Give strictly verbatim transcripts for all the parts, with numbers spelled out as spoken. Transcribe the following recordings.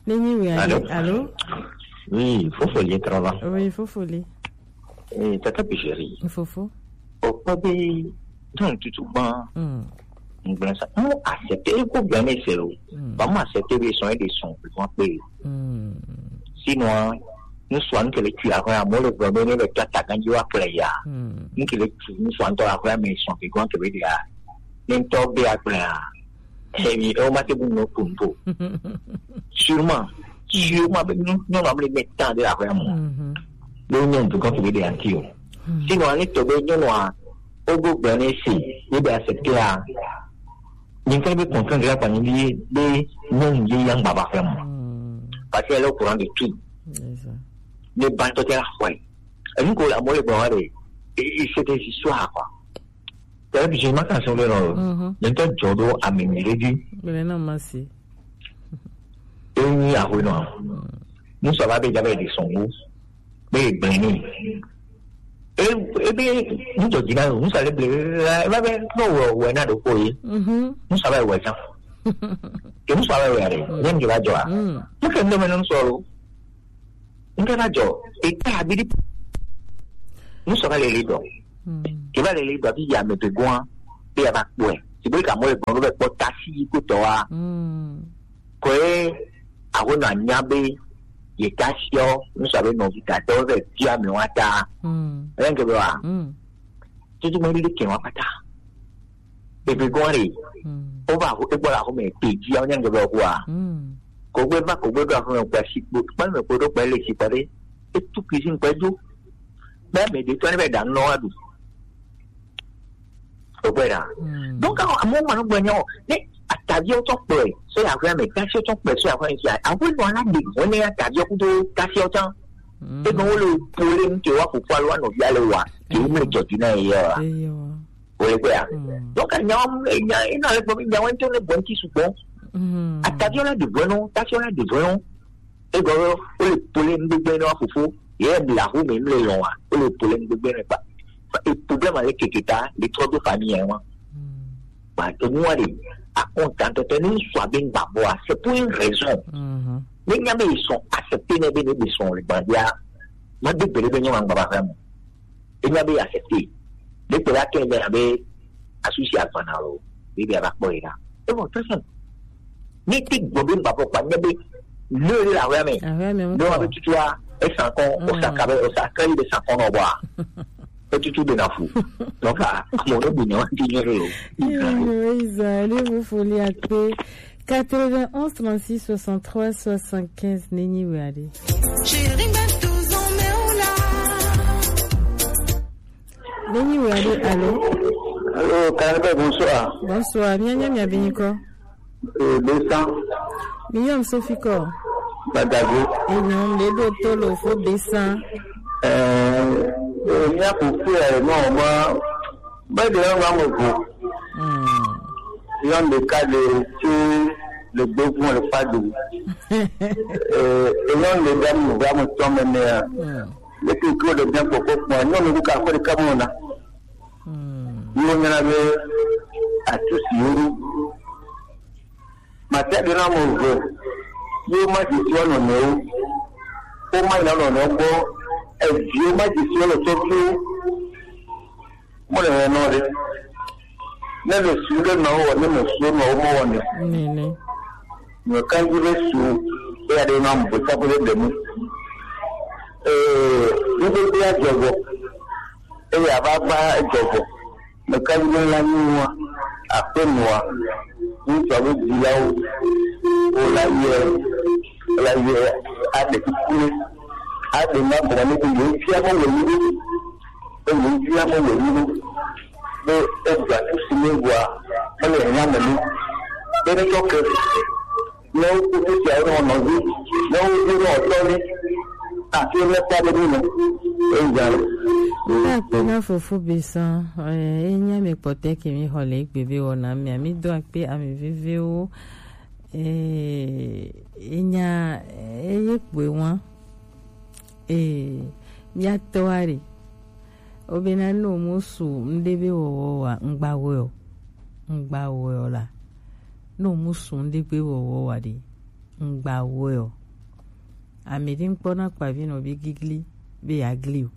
Nenye we ale, allô? Allô? Oui, Fofoli travail. Oui, Fofoli. Eh, Tata Pijeri. Fofo. Okpɔ be, donc, tutu gban. Mm. Ngblẽ sa. Mo accepter, eko gblẽ ne se o. Mm. Ba mo accepter be son e de son, pe kon pe. Mm. Sinon, nous soit nous que les tuer, après, moi, le problème, le tata, quand tu vas play, ya. Mm. Nous que les tuer, nous soit nous, après, mais son, pe kon, que veut dire, n'importe quoi, après, ya. Emi, e o ma te bu no kun po. Sûrement, sûrement, be nyɔnu, nyɔnu ame le mɛ tan de la vraiment. Mhm. Be nyɔnu to kan to be de anti o. Mhm. Sinon, ani to be nyɔnu a, o go gbɔ ne si, e be accepter a. Ni kan be comprendre la pa ni bi, be nyɔnu ye yang baba vraiment. Mhm. Parce qu'elle est au courant de tout. C'est ça. Ne ba to te la foi. Et nous, la mole bon, allez, et, et c'est des histoires, quoi. Tɛlɛ bi ma kan sɔn bɛ nɔ. Mhm. Ne tɛ jɔ do ami mi le di. Bɛlɛ na ma se. E ni a ho nɔ. Musa ba be ja be di sɔn go. Be gbe ni. E, e be ni jɔ di na, musa le ble, e ba be no wɔ, wɔ na do ko ye. Mhm. Musa ba wɔ ja. Ke musa ba wɔ ya de. Mm. Nyɛ mi ba jɔ a. Mm. Mu ke ndo me no sɔrɔ. Nke na jɔ, e ta abidi. Musa ba le le dɔ. Mm. Ke ba le le dɔ, bi ya me pe gua, bi ya ba kpɔe. Ti bo ka mo le gbɔn, be kpɔ tasi yi ko tɔ wa. Mm. Ko e, a wo na nya be, ye tasi o, musa be no vi ta, tɔ be, bi ya me wa ta. Mm. Renge be wa. Mm. Tutu mo le ke wa pata. Ebi gɔn re. Mm. O ba ho, e gbɔ la ho me pe ji, a nya nge be ho a. Mm. Ko gbe ba, ko gbe do ho me gba si kpo, kpa me ko do kpa le si kpa de. E tu cuisine kpa jo. Be me de to ne be da no adu. O gbe da. Mm. Donc, a mo ma no gbe nyo. Ne atavi o to pe, so ya gbe me, ta so to pe, so ya gbe si. A wo no la de, o ne atavi o ku do ta so tan. Mm. E no le pole nke wa ko kwa lo no bia le wa. Ke o me jo di na ye wa. Eyo. Wòle gbea. Mm. Donc, nyawo, nya, ina le gbɔ, nyawo ŋutɔ le gbɔ ŋuti sugbɔ. Mm. Atavio la de vɔnɔ, tafio la de vɔnɔ. Egɔ, wole pole ŋgbegbe na fofo. Ye mi la ho me, mi le lɔn wa. Wole pole ŋgbegbe na kpa. Fa, e problème le keke ta, le trɔ do famille wa. Mm. Ba, e mu wa de, a content te ni soit bien ba bo, c'est pour une raison. Mhm. Ne nya be ils sont acceptés, ne be, ne be sont le bandia. Ma de bele be nyɔ ma ba vraiment. Enya be accepter. Ɖe kpe la kɛ be abe asusi agbana lo. Be be aba kpɔ yi ɖa. E bɔ très simple. Ni ti gbɔ be ba bɔ kpa nye be le le la wɛ me. Awe me. Do abe tutua e san kɔn, o sa ka be, o sa ka yi be san kɔn no bɔ. E tutu be na fu. Donc a mo no bi no ti nye lo. Yo, yo, Isa, le vous folie à paix. Quatre-vingt-onze, trente-six, soixante-trois, soixante-quinze, Nenyi Weade. Nenyi Weade, allô? Allô, Kanabé, bonsoir. Bonsoir, mianya miabinyiko. Euh, deux cents. Miyom Sophie ko. Badago. Enyom le do tolo fo deux cents. Euh, euh, mia pour faire, non, moi, Bɛ de yɔ ŋa me vo. Mm. Yɔ ɖeka le tsi le gbevɔ le kpa do. Eh, yɔ le da mu va mu tɔ me nea. Mm. Le ke ko de bien kpɔkpɔ kpɔ, nyɔ me ka ko de ka mo na. Mm. Yɔ nyana be atu si yuru. Mate ɖe na mo ve, ye woma dzi si wo nɔnɔewo, woma yi na wo nɔnɔewo gbɔ, eviwo ma dzi si wo le tɔgbuiwo, mo le nɔ ɖe. Ne le su ɖe nɔ wɔ, ne me su nɔ wo mo wɔ ne. Nene. Me kan dzi be su, eya ɖe na mo ve tsa ko ɖe ɖe mu. Ee, ŋgbegbe ya dzɔ vɔ. Eye ava va edzɔ vɔ. Meka be la nyi nua, aƒenɔa, ŋutsu alo dzilawo, wola yɔe, wola yɔe aɖe kuku nɛ, aɖe na gɔme nɛ be yewo fia be wònyi ɖo, be yewo fia be wònyi ɖo, be eɖu atu si nɛ vɔa, mele hiã me nɛ, be netsɔ ke. Ne woku nu siawo nɔ nɔvi, ne woku nɔ tɔvi, ati ne kpa ɖe nu me. Eya. Akpe na fofo be sã, eh, enya me kpɔtɛ ke mi xɔ le egbe be wɔna mia, mi do akpe ame vevewo, eh, enya, eh, eye kpoe wa, eh, mia tɔ wa ɖe. Wobena ne womusu ŋɖe be wɔwɔ wa, ŋgba wɔe o. Ŋgba wɔe o la, ne womusu ŋɖe be wɔwɔ wa ɖe, Ŋgba wɔe o. Ame ɖe ŋkpɔ na kpavi nɔ be gigli be yeagli o.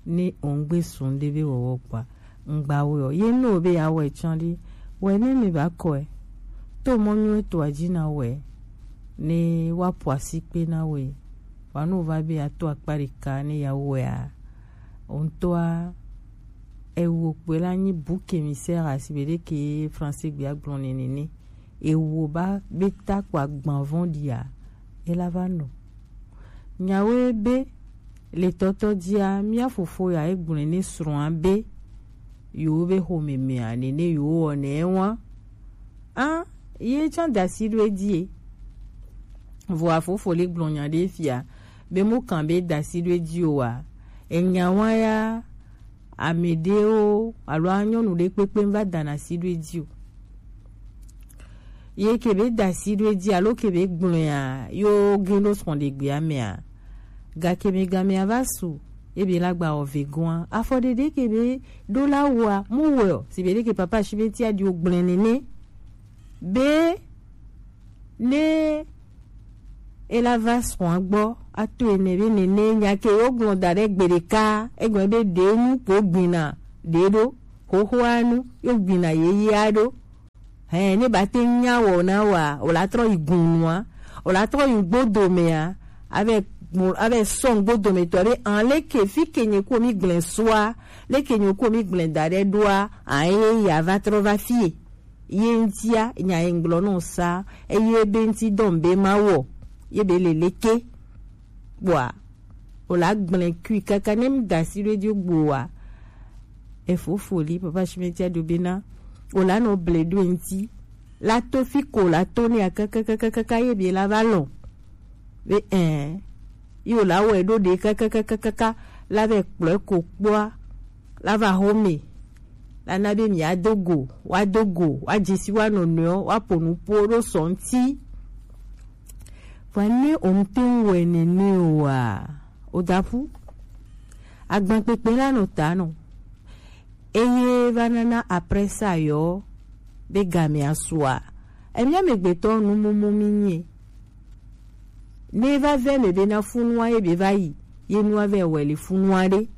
Ne ŋgbe sun ɖe be wɔwɔ kpɔa, ŋgba wɔe o. Ye no be yeawɔe tsã ɖi, wɔe ne mi ba kɔe. To mɔ nyuie toa dzi na wɔe. Ne woaƒo asikpe na wɔe. Wa no va be ato akpa ɖeka ne yeawɔea. Ŋutɔa, ewo kpoe la nyi bouc émissaire, asi be ɖe ke français gbe agblɔ nene ne. Ewo ba be ta kpo agban vɔ̃ɖia, ela va nɔ. Nyawoe be le tɔtɔ dzia, mía fofo ya egblɔe ne srɔ̃a be yewo be xomemea nene yewo wɔnɛ wa. A, ye tsã da asi ɖo edzi e. Vɔa fofo le gblɔ nya ɖe fia be mo kan be da asi ɖo edzi o wa. Enya wa ya, ame ɖewo alo a nyɔnu ɖe kpekpe va da asi ɖo edzi o. Ye ke be da asi ɖo edzi alo ke be gblɔea, yo gin ɖo srɔ̃ɖegbea mea, gake mi gamea va su, ye be la gba wɔ vegoa. Afɔ ɖeɖe ke be ɖo la wɔa, mu wɔe o, si be ɖe ke papa si be tia ɖi o gblɔe nene. Be ne ela va srɔ̃a gbɔ ato ene be nene nya ke yo gblɔ da ɖe gbe ɖeka, egblɔ be ɖe nu ko gbina ɖe ɖo, xoxoa nu yo gbina yeyea ɖo. Hɛn, ne ba te nya wɔ na wa, o la trɔ yi gun nua, o la trɔ yi gbodomea, avɛ gun, avɛ sɔ gbodometɔ be an leke fi ke nye ko mi gblẽ sua, leke nye ko mi gblẽ da ɖe ɖoa, an ye ya va trɔ va fie. Ye ŋutia nya ye ŋgblɔ nɔ sa, eye be ŋuti dɔm be ma wɔ, ye be le leke. Kpɔa, o la gblẽ kui kaka ne mi da asi ɖo edzi gboa. Efofo li papa Shimetia do bena, o la nɔ ble ɖo ŋuti. La to fi ko la to ne kakakakaka ye be la va lɔ. Be ɛ, ye o la wɔ ɖo ɖe kakakakaka la vɛ kplɔe ko kpɔa, la va xome. La na be mi ado go, wa do go, wa dzesi wa nɔnɔewo, wa po nu po ɖo sɔ ŋuti. Vɔ ne o ŋte ŋu wɔe nene oa, o da ƒu. Agbankpekpe la nɔ ta nɔ. Eye va nana après ça yɔ be gamea sua. Emia megbetɔ nu mumu mi nye. Ne va vɛ me be na funua ye be va yi, ye nua vɛ wɛ le funua ɖe.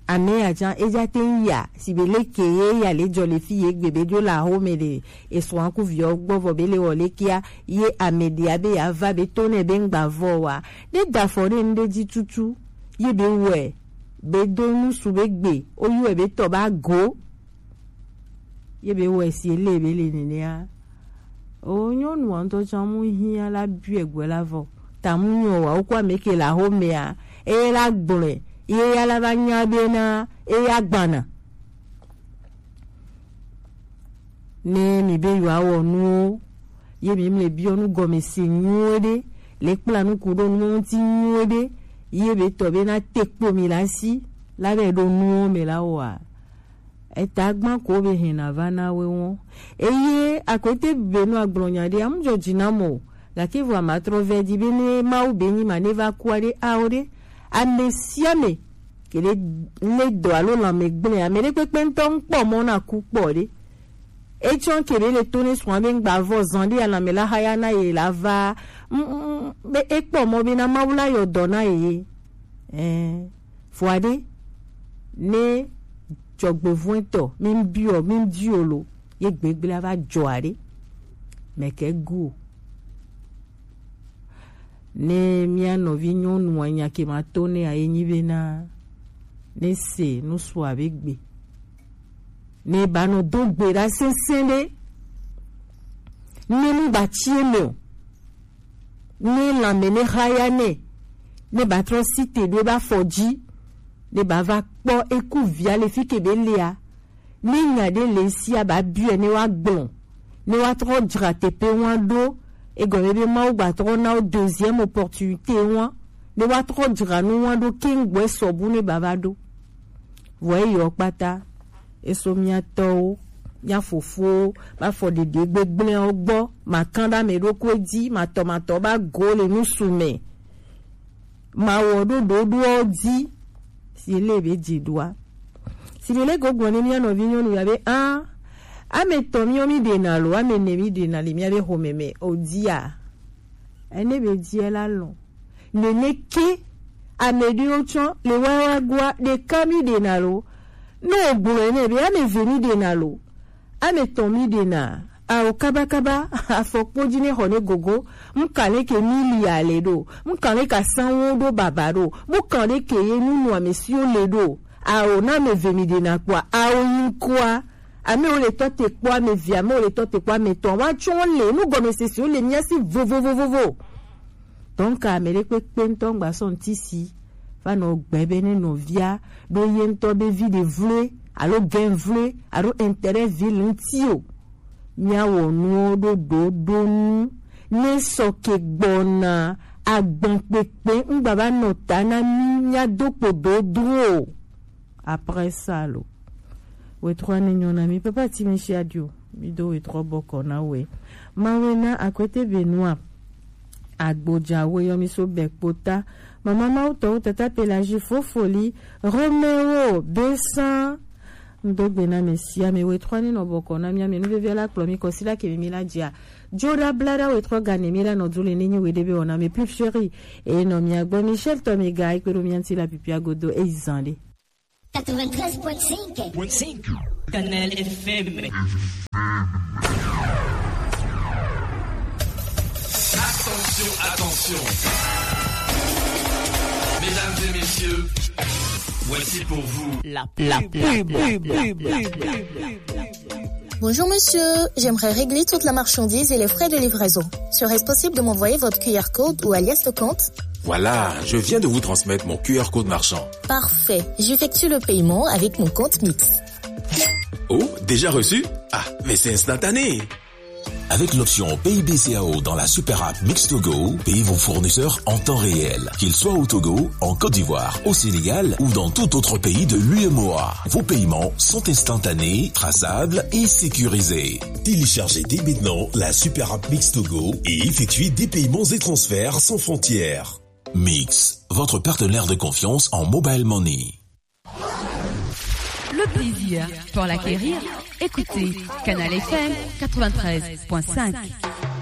Ame ya tsã, eya te ŋu ya, si be leke ye ya le dzɔ le fi ye gbe be dzo le axome ɖe, esrɔ̃a ku viawo gbɔ vɔ be le wɔ lekea, ye ame ɖea be ya va be to nɛ be ŋgba vɔ wa. Ne da afɔ ɖe nu ɖe dzi tutu, ye be wɔe, be do nusu be gbe, o yɔe be tɔ ba go. Ye be wɔ esi ele be le nenea. O nyɔnua ŋutɔ tsã mu hiã la biɔe gbe la vɔ. Ta mu nyɔ wa, wokɔ ame ke le axomea, eye la gblɔe, ye ya la va nya be na, eya gbana. Ne mi be yewoawɔ nuwo, ye mi mle biɔ nu gɔme se nyuie ɖe, le kpla nu ku ɖo nuwo ŋuti nyuie ɖe, ye be tɔ be na te kpo mi la si, la be ɖo nuwo me la wɔa. Eta gba ko be hɛn na va na we wɔn. Eye akwete be nu agblɔ nya ɖe, amu dzɔ dzi na mɔ o. Gake vɔ ama trɔ vɛ di be ne Mawu be nyi ma ne va kua ɖe, ao ɖe. Ame sia ame ke ɖe le dɔ alo lãme gblẽ, ame ɖe kpekpe ŋutɔ ŋkpɔ mɔ na ku kpɔ ɖe. Etsɔ ke be le to ne srɔ̃a be ŋgba vɔ zan ɖe alãme la haya na ye la va. Mm, mm, mm, be ekpɔ mɔ be na Mawu la yɔ dɔ na ye. Ɛɛ. Vɔa ɖe, ne dzɔgbevɔ̃etɔ, mi ŋu biɔ, mi ŋu dio lo, ye gbegblẽ ava dzɔ aɖe. Mɛkɛ gu o. Ne mía nɔvi nyɔnua nya ke ma to ne a ye nyi be na, ne se nu su abe gbe. Ne ba nɔ do gbe ɖa sɛsɛ ɖe. Ne nu ba tsi eme o. Ne lãme ne haya nɛ, ne ba trɔ si te ɖo ebe afɔ dzi, ne ba va kpɔ eku via le fi ke be lea, ne nya ɖe le sia ba biɔe ne wa gblɔ, ne wa trɔ dzra teƒe wa ɖo, egɔme be Mawu gba trɔ na wo deuxième opportunité wa, ne wa trɔ dzra nu wa ɖo keŋ gbɔ esɔ bu ne ba va ɖo. Vɔ eyɔ kpata. Eso mía tɔwo, mía fofowo, ba fɔ ɖeɖe gbegblẽwo gbɔ, ma kã ɖe ame ɖokui dzi, ma tɔ ma tɔ ba go le nusu me, ma wɔ ɖoɖoɖowo dzi, si le be dzi ɖoa. Si le le gogblɔ ne mía nɔvi nyɔnu ya be, a, Ame tɔn mi ɔ mi ɖe na lo, ame ne mi ɖe na le mi a be xomɛ mɛ o dia. Ene be dia la lɔn. Nene ke ame ɖe o tsɔn le wa wa gua ɖe ka mi ɖe na lo. No o gblɔ ene be ame ve mi ɖe na lo. Ame tɔn mi ɖe na. Ao kabakaba afɔkpo ji ne xɔ ne gogo. Mu kan le ke mi li ale ɖo. Mu kan le ka sanwo ɖo baba ɖo. Mu kan le ke ye nu nu ame si o le ɖo. Ao na ame ve mi ɖe na kpɔa. Ao yin kua. Ame wo le tɔ te kpɔ ame vi, ame wo le tɔ te kpɔ ame tɔn. Wa tsɔn le nu gɔme sese wo le mia si vovovovovo. Donc ame ɖe kpekpe ŋutɔ ŋgba sɔ ŋuti si va nɔ gbe be ne nɔvia ɖo ye ŋutɔ be vi ɖe vloe alo gɛn vloe alo intérêt vi le ŋuti o. Mia wɔ nuwo ɖo ɖoɖo nu ne sɔ ke gbɔna agban kpekpe ŋgba va nɔ ta na mi mia do kpo dodro o. Après ça lo. Wetrɔ ne nyɔ na mi papa ti mi si adio. Mi do wetrɔ bɔkɔ na we. Mawe na akwete Benoît. Agbodza we yɔ mi so bɛ kpota. Mama mawu tɔwo tata Pelagie Fofoli Romeo Besan. Ŋdogbe na mi si ame wetrɔ ne nɔ bɔkɔ na mi ame nu vevia la kplɔ mi kɔ si la ke mi mi la dzia. Joda blada wetrɔ gane mi la nɔ du le ne nyi we de be wɔna mi plus chéri. E nɔ mi agbɔ Michel tɔ mi ga ikpe ɖo mi anti la pipia godo e zan de. Quatre-vingt-treize point cinq. Canal F M. Attention, attention. Mesdames et messieurs, voici pour vous la, la pub. Bonjour monsieur, j'aimerais régler toute la marchandise et les frais de livraison. Serait-ce possible de m'envoyer votre Q R code ou alias de compte ? Voilà, je viens de vous transmettre mon Q R code marchand. Parfait, j'effectue le paiement avec mon compte Mix. Oh, déjà reçu ? Ah, mais c'est instantané. Avec l'option Pay B C A O dans la super app Mix to Go, payez vos fournisseurs en temps réel. Qu'ils soient au Togo, en Côte d'Ivoire, au Sénégal ou dans tout autre pays de l'U M O A. Vos paiements sont instantanés, traçables et sécurisés. Téléchargez dès maintenant la super app Mix to Go et effectuez des paiements et transferts sans frontières. Mix, votre partenaire de confiance en mobile money. Le plaisir pour l'acquérir, écoutez Canal F M quatre-vingt-treize point cinq.